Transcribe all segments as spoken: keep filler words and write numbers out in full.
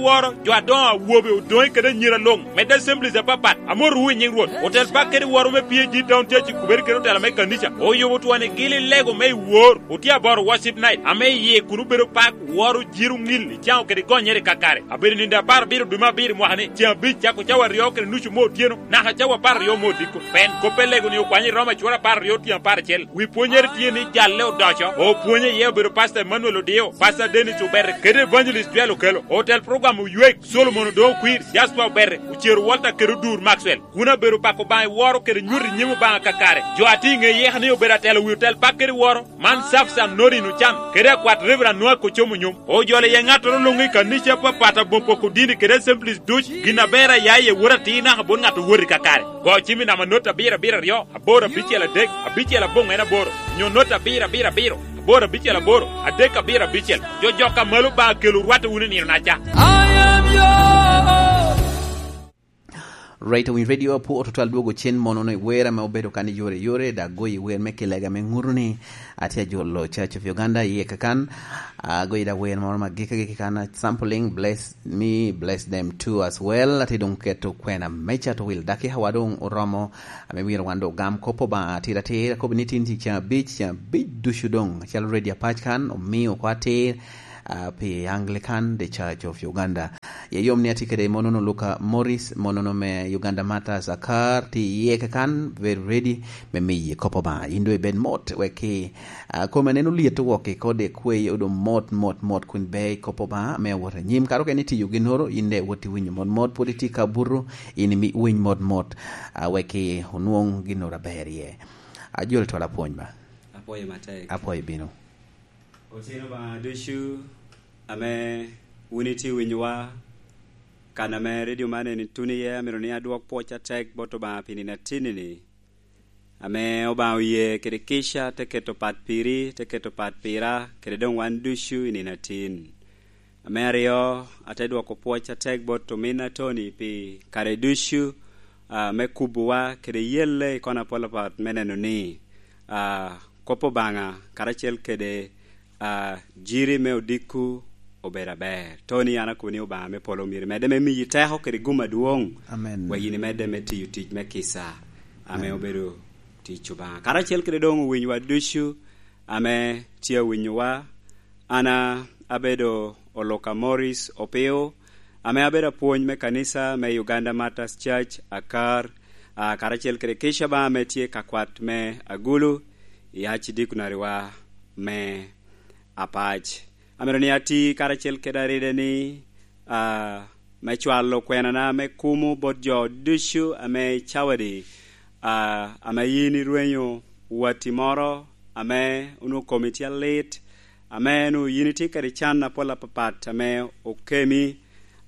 Woro, jo adoŋo awobe, odoŋe kede anyira luŋ, medde assemblies apapat, amotowu i nyiŋ Rwot. Otel pak kede woro me P A G Town Church i Kuberi kede otela me kanica, oyubo twon i gili lego me i wor, otye aboro worship night, ame iye kun obedo pak, woro, jiro, ŋil, icaŋo kede gonyere i kakare. Abedo nindo apar abiro dwe me abiro i mwaka ni, ceŋ abic cako cawa aryo kede nucu me otyeno, naka cawa apar aryo me odiko. Pen kop elego ni okwanyo i Roma cura apar aryo tyen apar acel. Wi pwonyere tye ni jalle odoco. Opwonye iye obedo Pastor Emmanuel Odio, Pastor Dennis Obere, kede Evangelist Joel Okelo. Otel program Oywek, Solomon Odoŋo Kwir, Jasper Obere, Ocero Walter kede Odur Maxwell. Kun abedo pako Obaŋa i woro kede nyuto i nyim Obaŋa kakare. Jo a tye i ŋe yeka ni obedo atelo wi otel pak kede woro, man Safsan Norin Ocan, kede akwat Reverend Noah Kocom Onyom. Ojolo iye ŋattoro luŋ i kanica apapat aboŋ poko dini kede assemblies duc, gin aber a ya iye wot atir naka bot ŋat owot i kakare. Go cim i namba not abiro abiro aryo, aboro abicel adek, abicel aboŋ en aboro, nyo not abiro abiro abiro, aboro abicel aboro, adek abiro abicel. Jo jok a malo ba kelo rwatte wunu i nino naca. I am yours. Right, owiny radio apu ototwal dwogo cen mono no i wer ame obedo kan i yore yore, da goyo i wer me kilega me ŋuto ni atye ajolo Church of Uganda iye kakan. Agoyo da wer moro ma gika gika kan, sampling, "Bless me, bless them too as well." Atye dong keto kwena me cato wil daki hawa dong oromo, ame myero wan dong ogam kop Obaŋa atir atir. Akobo ni tin ceng abic, ceng abic ducu dong, acalo radio apac kan, omio oko atir, ah, pi Anglican The Church of Uganda. Ye yom ni atye kede monono Luka Morris, monono me Uganda Martyrs Akar, tye iye kakan, very ready, me miyi kop Obaŋa. In dong ibed mot, wek ki, ah, kome aneno lyet owok i kode kwe, odong mot, mot, mot, kun ber i kop Obaŋa, me awot anyim. Kara okene itiyo ginnoro, in dong iwot iwinyo mot, mot, pwod itye ka buto, in imi winy mot, mot, ah, wek ki onwoŋ ginnoro aber iye. Ajol twal apwony ba. Apwoyo matek. Apwoyo bino. Otyeno Obaŋa ducu ame wun itye winyowa, kan ame redio man eni tuno iye, amito ni adwok pwoc atek bot Obaŋa pi nino atinni-ni, ame Obaŋa oye kede kica te keto pat piri, te keto pat pira, kede doŋ wan ducu i nino atin. Ame aryo, ate dwoko pwoc atek bot ominna Tony pi kare ducu, ah, me kubowa kede yelle i kona apol apat me neno ni, ah, kop Obaŋa karacel kede, ah, jiri me odikku obedo aber. Tony, an akobo ni Obaŋa me polo myero medde me miyi teko kede gum adwoŋ, amen, wek yin imedde me tiyo tic me kica ame, amen, obedo tic Obaŋa. Karacel kede doŋ owinyowa ducu ame tye awinyowa, an a-, abedo Oluka Morris Opio, ame abedo apwony me kanica me Uganda Martyrs Church, Akar, ah, karacel kede kica ba ame tye ka kwat me Agulu, i Archdeaconry wa me Apac. Amito ni ati karacel kede aride ni, ah, me cwalo kwenana me kumo bot jo ducu ame i cawadi, ah, ame yin irwenyo watti moro ame onwoŋo komi tye alit, ame onwoŋo yin itye kede can apol apapat ame okemi,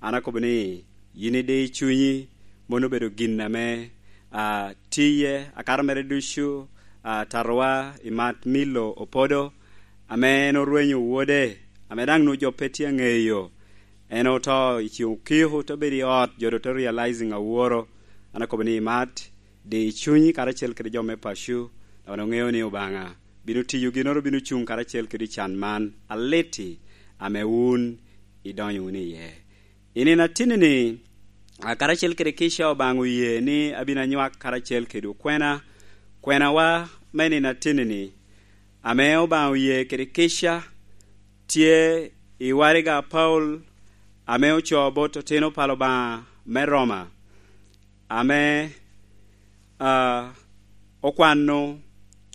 an akobo ni yin idi i cunyi, mano obedo gin ame, ah, tiye akato mere ducu, ah, tatowa i mat Milo Opodo, ame en orwenyo wode, ame daŋ onwoŋo jo pe tye aŋeyo. En oto i ceng okiko, te bedo i ot, jo doŋ te realizing aworo. An akobo ni imat, di i cunyi karacel kede jo me paco, dok wan oŋeo ni Obaŋa bino tiyo ginnoro, bino cuŋ karacel kede can man aliti ame wun idonyo wunu iye. I nino atinni-ni, a, karacel kede kica Obaŋa oye ni abino anywak karacel kede okwena, kwenawa me nino atinni-ni, ame Obaŋa oye kede kica, tye i waraga Paulo ame ocoo bot otino pa Obaŋa me Roma, ame, a, okwano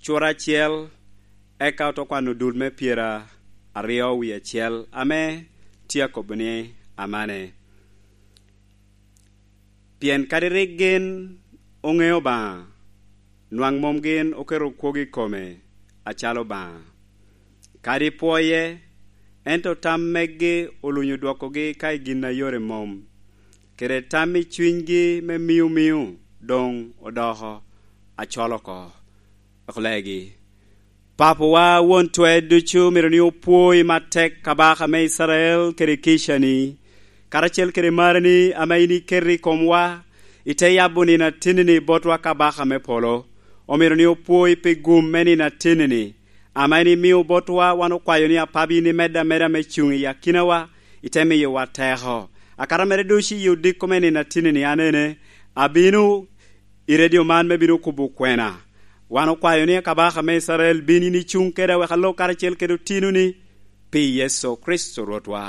cura acel, eka ote kwano dul me pyeraryo wie acel, ame tye akobo ni amane. Pien kadi rik gin oŋeo Obaŋa, nwaŋ mom gin oketo kwogo i kome acalo Obaŋa. Kadi pwoye, ento tam megi olunyo dwokogi ka i gin a yore mom, kede tam i cunygi me mio mio doŋ odoko acol oko. Wek olegi. Papawa, Won Twer Ducu, myero ni opwoi matek kabaka me Icrael kede kicani, karacel kede marani ame yin iketo i komwa, ite yabo nino atinni-ni botwa kabaka me polo. Omyero ni opwoi pi gum me nino atinni-ni, ame en imio botwa. Wan okwayo ni apabi yin imedde ameda me cuŋ i akinawa, ite miyowa teko. Akato mere ducu i odiko me nino atinni ni, anene, abino i redio man me bino kubo kwena. Wan okwayo ni akabaka me Icrael bin yin icuŋ keda wek alok karacel kede otinoni pi Yecu Kricito Rwotwa.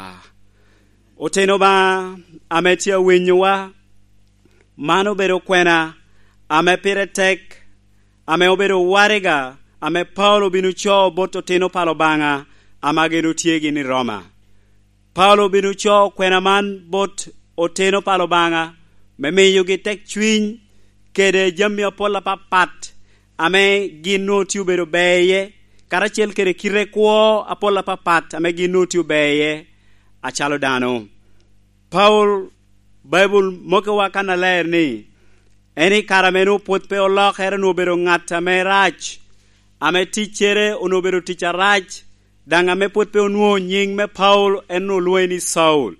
Otino Obaŋa ame tye awinyowa, man obedo kwena ame pire tek, ame obedo waraga ame Paulo obin ocoo bot otino pa Obaŋa ame gin otye gin i Roma. Paulo obin ocoo kwena man bot otino pa Obaŋa me miyogi tekcwiny kede jami apol apapat ame gin onwoŋo tye obedo ber iye, karacel kede kite kwo apol apapat ame gin onwoŋo tye ober iye acalo dano. Paulo, Baibul mokiwa kannaler ni, en i kare ame onwoŋo pwod pe olokere, onwoŋo obedo ŋat ame rac, ame ticcere onwoŋo obedo tic arac, daŋ ame pwod pe onwoŋo nyiŋ me Paulo, en onwoŋo lwoŋe ni Caulo.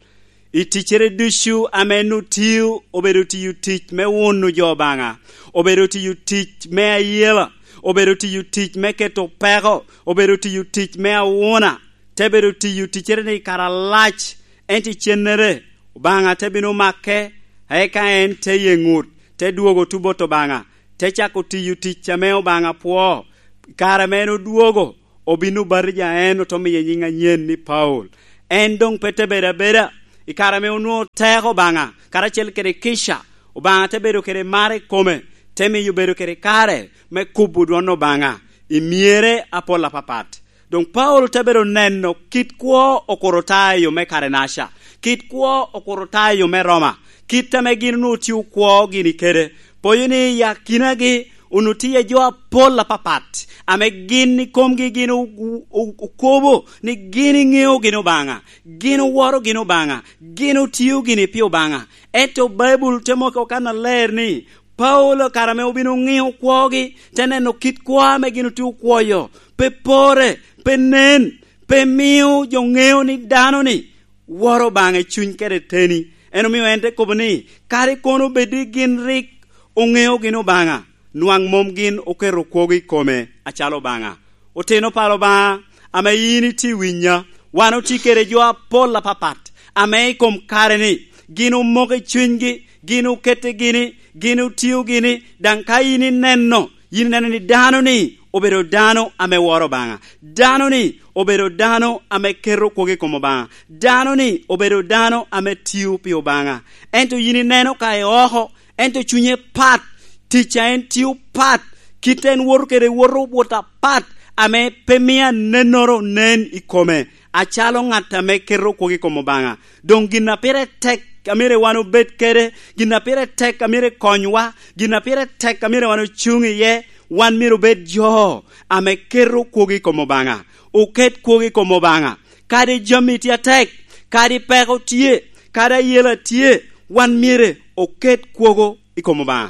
I ticcere ducu ame en otio, obedo tiyo tic me wuno jo Obaŋa, obedo tiyo tic me ayela, obedo tiyo tic me keto peko, obedo tiyo tic me awuna, te bedo tiyo ticcere-ni i kare alac, ento icennere Obaŋa te bino make, eka en te ye ŋut, te dwogo tuŋ bot Obaŋa, te cako tiyo tic ame Obaŋa pwoo. I kare ame en odwogo, obin obatija en, ote miye nyiŋ anyen ni Paulo. En doŋ pe te bedo abeda. I kare ame onwoŋo teko Obaŋa karacel kede kica, Obaŋa te bedo kede mar i kome, te miyo bedo kede kare me kubo dwon Obaŋa i myere apol apapat. Doŋ Paulo te bedo neno kit kwo okuro ta i yo me Karenaca, kit kwo okuro ta i yo me Roma, kit ame gin onwoŋo tye okwo gini kede. Poyo ni i akinagi onwoŋo tye jo apol apapat, ame gin i komgi gin o-, o-, o-, okobo ni gin iŋeo gin Obaŋa, gin oworo gin Obaŋa, gin otio gini pi Obaŋa. Ento Baibul te moki okan aler ni, Paulo kare ame obino ŋio kwogi, te neno kit kwo ame gin otye okwoyo, pe pore, pe nen, pe mio jo ŋeo ni dano-ni woro Obaŋa i cuny kede teni. En omio en te kobo ni, kadi kono bed ni gin rik oŋeo gin Obaŋa, nwaŋ mom gin oketo kwogo i kome acalo Obaŋa. Otino pa Obaŋa, ame yin itye winya, wan otye kede jo apol apapat, ame i kom kare-ni, gin omoko i cunygi, gin okette gini, gin otio gini, daŋ ka yin ineno, yin ineno ni dano-ni obedo dano ame woro Obaŋa. Dano-ni obedo dano ame keto kwogo i kom Obaŋa. Dano-ni obedo dano ame tio pi Obaŋa. Ento yin ineno ka i oko, ento cunye pat, tic a en tio pat, kit en woto kede woto wot apat, ame pe mio anennoro nen i kome, acalo ŋat ame keto kwogo i kom Obaŋa. Doŋ gin a pire tek a myero wan obed kede, gin a pire tek a myero konywa, gin a pire tek a myero wan ocuŋ iye, wan myero obed jo ame keto kwogo i kom Obaŋa, oket kwogo i kom Obaŋa. Kadi jami tye atek, kadi peko tye, kadi ayela tye, wan myero oket kwogo i kom Obaŋa.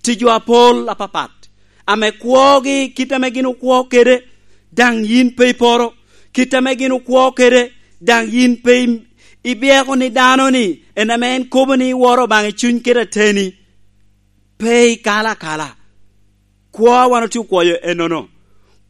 Tye jo apol apapat, ame kwogi kit ame gin okwo kede, daŋ yin pe iporo. Kit ame gin okwo kede, daŋ yin pe im-, ibyeko ni dano-ni en ame en kobo ni iworo Obaŋa i cuny kede ateni. Pe ikalo akala. Kwo a wan otye okwoyo ennono.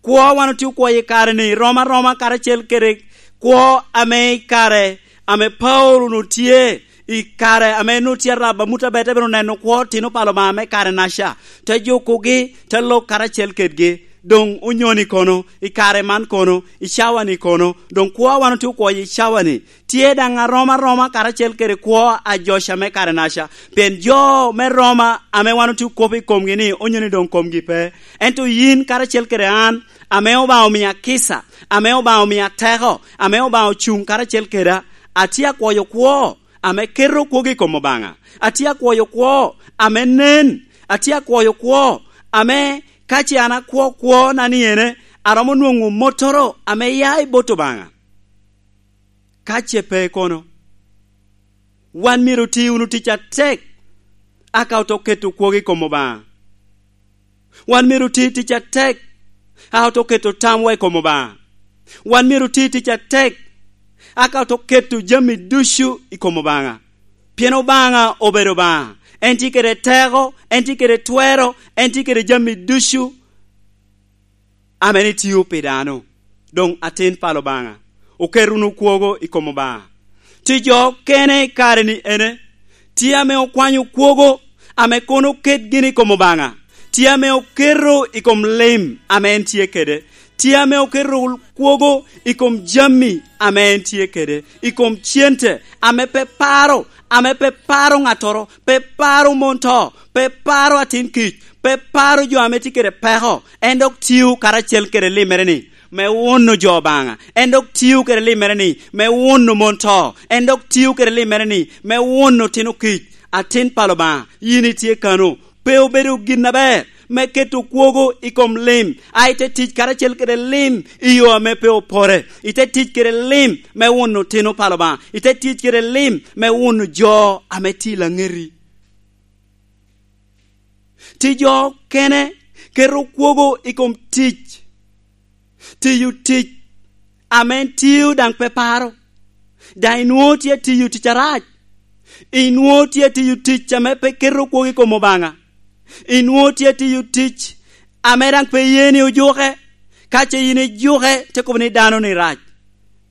Kwo a wan otye okwoyo i kare-ni rom aroma karacel kede kwo ame i kare ame Paulo onwoŋo tye, i kare ame en onwoŋo tye arab amut aber, te bino neno kwo otino pa Obaŋa me kare-naca, te jukogi, te lok karacel kedgi. Doŋ onyoni kono, i kare man kono, i cawa-ni kono, doŋ kwo a wan otye okwoyo i cawa-ni, tye daŋ arom aroma karacel kede kwo a joca me kare-naca, pien jo me Roma ame wan otye okop i komgi-ni onyo ni doŋ komgi pe. Ento yin karacel kede an, ame Obaŋa omio akica, ame Obaŋa omio ateko, ame Obaŋa ocuŋ karacel keda, atye akwoyo kwo ame keto kwogo i kom Obaŋa. Atye akwoyo kwo ame nen, atye akwoyo kwo ame ka ce an akwo kwona ni ene, aromo nwoŋo mottoro ame ya i bot Obaŋa. Ka ce pe kono, wan myero oti wunu tic atek, aka oto keto kwogo i kom Obaŋa. Wan myero oti tic atek, a oto keto tamwa i kom Obaŋa. Wan myero oti tic atek, aka oto keto jami ducu i kom Obaŋa. Pien Obaŋa obedo Obaŋa, en tye kede teko, en tye kede twero, en tye kede jami ducu ame ni tio pi dano. Doŋ atin pa Obaŋa, oket wunu kwogo i kom Obaŋa. Tye jo okene i kare-ni ene, tye ame okwanyo kwogo ame kono oket gin i kom Obaŋa, tye ame oketo i kom lim ame en tye kede, tye ame oketo kwogo i kom jami ame en tye kede, i kom cente ame pe paro, ame pe paro ŋattoro, pe paro mon to, pe paro atin kic, pe paro jo ame tye kede peko, en dok tio karacel kede limmere-ni me wuno jo Obaŋa, en dok tio kede limmere-ni me wuno mon to, en dok tio kede limmere-ni me wuno otino kic. Atin pa Obaŋa, yin itye kano, pe obedo gin aber me keto kwogo i kom lim, a ite tic karacel kede lim i yo ame pe opore, ite tic kede lim me wuno otino pa Obaŋa, ite tic kede lim me wuno jo ame tye i laŋeti. Tye jo okene keto kwogo i kom tic, tiyo tic ame en tio daŋ pe paro, daŋ inwoŋo tye atiyo tic arac, inwoŋo tye atiyo tic ame pe keto kwogo i kom Obaŋa, inwoŋo tye atiyo tic ame daŋ pe ye ni ojuke, ka ce yin ijuke, te kobo ni dano-ni rac.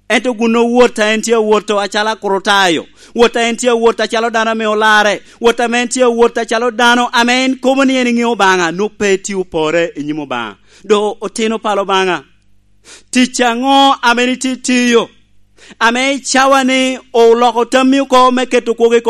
Ento gun wot a en tye awot acalo Akrutayo, wot a en tye awot acalo dano ame olarre, wot ame en tye awot acalo dano ame en kobo ni en eŋeo Obaŋa, nwoŋo pe tye opore i nyim Obaŋa. Doŋ otino pa Obaŋa, tic aŋo ame en itye tiyo, ame i cawa-ni oloko tammi oko me keto kwogo i